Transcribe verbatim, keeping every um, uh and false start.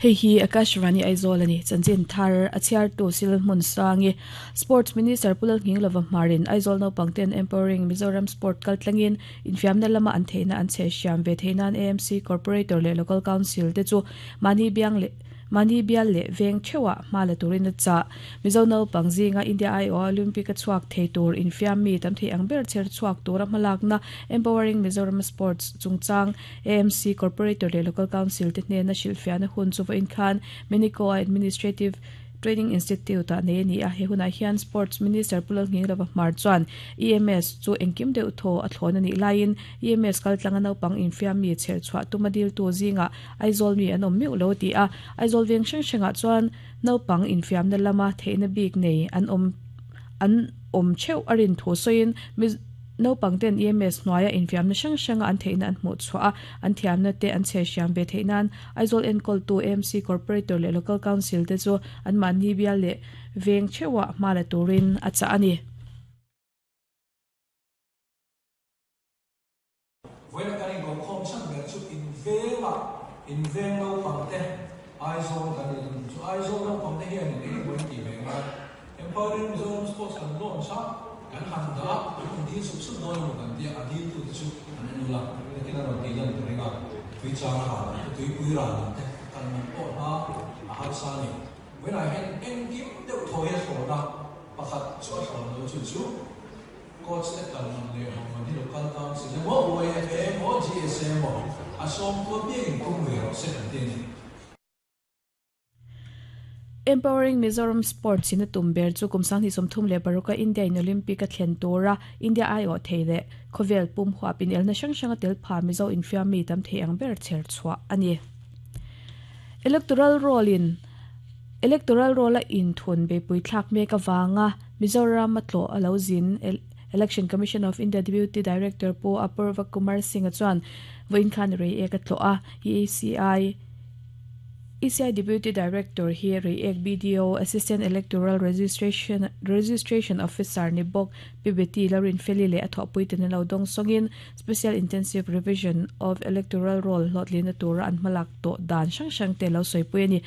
Hei hi Akashvani Aizawl ani chanchin thar a chhiar tu sil hmun sangi Sports Minister Pulal Nghinglova Hmarin Aizawl naupangten Empowering Mizoram Sport kaltlangin infiamna lama an theihna an chhe hriam ve theinan A M C Corporator leh Local Council te chu mahni biang leh mahni bial leh veng theuha hma la turin a chah Mizo naupang zinga India I O Olympic a chhuak thei tur infiam mi tam thei ang ber chher chhuak tura hmalakna Empowering Mizoram Sports chungchang A M C Corporator leh Local Council te hnena hrilhfiahna hun chu vawiin khan Minico Administrative Training Institute a nei ani a he hunah hian Sports Minister Pulal Nghinglova Hmar chuan E M S chu engkim deuh thaw a thlawn ani laiin E M S kaltlanga naupang infiam mi chher chhuah tuma dil tu zinga Aizawl mi an awm meuh lo ti a Aizawl veng hrang hrangah chuan naupang infiamna lama theihna bik nei an awm an awm theuh a rin thu sawiin naupang ten E M S hnuaia infiamna hrang hranga an theihna an hmuh chhuah a an thiamna te an chhe hriam ve theinan Aizawl enkawl tu A M C Corporator leh Local Council te chu an mahni bial leh veng theuha hma la turin a chah ani. Vawiin kan inko khawm chhan ber chu in venga in veng naupang te Aizawl kan in chu Aizawl naupang te hian in engemaw in tih ve ngai Empowering Mizoram Sports kan launch a kan han dah a an dil sup sup dawn emaw kan tia a dil tu te chu an en ula nakin a rawn tih lan ka ring a tui chang a ral te tui pui ral lam te kal man pawh hna a harsa ani vawiinah hian engkim deuh thaw hi a thlawn a pakhat chu a thlawn lo chu chu coach te kal man leh ho man hi local council emaw U A F A emaw G S A emaw a sawm tu apiangin tum ve rawh se kan ti ani. Empowering Mizoram Sports in a tum ber chu kumsang hi somthum leh baruka India in Olympic a thlen tura India I O thei leh khawvel pum huap in elna hrang hranga tel pha Mizo infiam mi tam thei ang ber chher chhuah ani. Electoral roll in Electoral roll a in thun be pui thlak mek awanga Mizoram a tlo alo zin Election Commission of India Deputy Director Pu Apurva Kumar Singh a chuan vawiin khan rei ek a tlo a E C I E C I Deputy Director hi rei ek B D O Assistant Electoral Registration Registration Officer ni bawk P B T Larin Feli leh a thawhpui ten lo dawng sawngin Special Intensive Revision of Electoral Roll hlawtlina tura an hmalak tawh dan hrang hrang te lo sawipui ani.